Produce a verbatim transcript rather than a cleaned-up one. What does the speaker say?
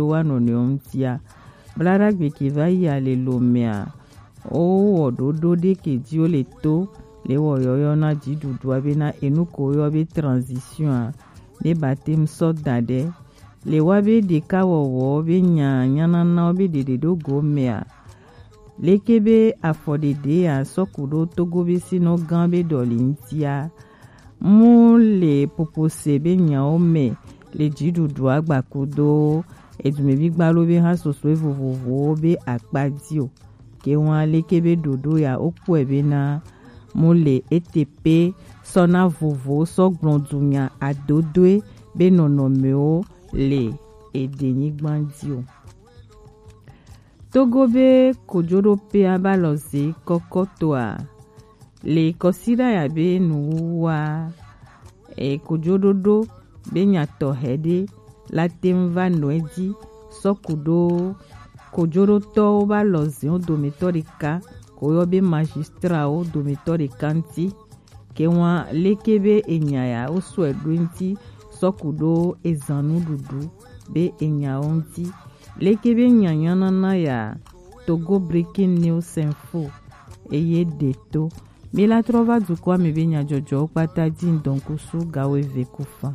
wa nɔnɔewo ŋutia. Bladagbe ke va yi ale lo mea, wowɔ ɖoɖo ɖe ke dzi wole to le wɔ yɔyɔ na dziɖuɖua bena enu ko woyɔ be transition a, ne baptême sɔ da ɖe le wa be ɖeka wɔwɔ be nya nyananawo be ɖeɖe ɖo go mea, leke be afɔɖeɖe ya sɔ ku ɖo Togo be sinɔ gã be ɖɔli ŋutia. Mu le popose be nyawo me le dziɖuɖua gbakudo edumevi gbalo be hã sosoe vovovowo be akpa dzi o. Ke ŋua leke be ɖoɖo ya wokpɔe bena mu le ete pe sɔ na vovo sɔ gblɔ dunya adodoe be nɔnɔmewo le edenyigba dzi o. Togo be kojoɖoƒea va lɔ ze kɔkɔtoa le kɔsiɖa ya be nuwuwua e kojoɖoɖo be nyatɔhe ɖe la te ŋu va nɔ edzi sɔ ku ɖo kojoɖotɔwo va lɔ ze wo dometɔ ɖeka ko yɔ be magistrawo dometɔ ɖeka ŋuti. Ke ŋua leke be enya ya wo sɔe ɖo ŋuti sɔ ku ɖo ezan nuɖuɖu be enyawo ŋuti. Leke be nyanyanana ya Togo Breaking News Info eye ɖe to. Mi la trɔ va dukɔa me be nyadzɔdzɔwo kpata dzi ŋdɔnkusu gawo eve ku fa.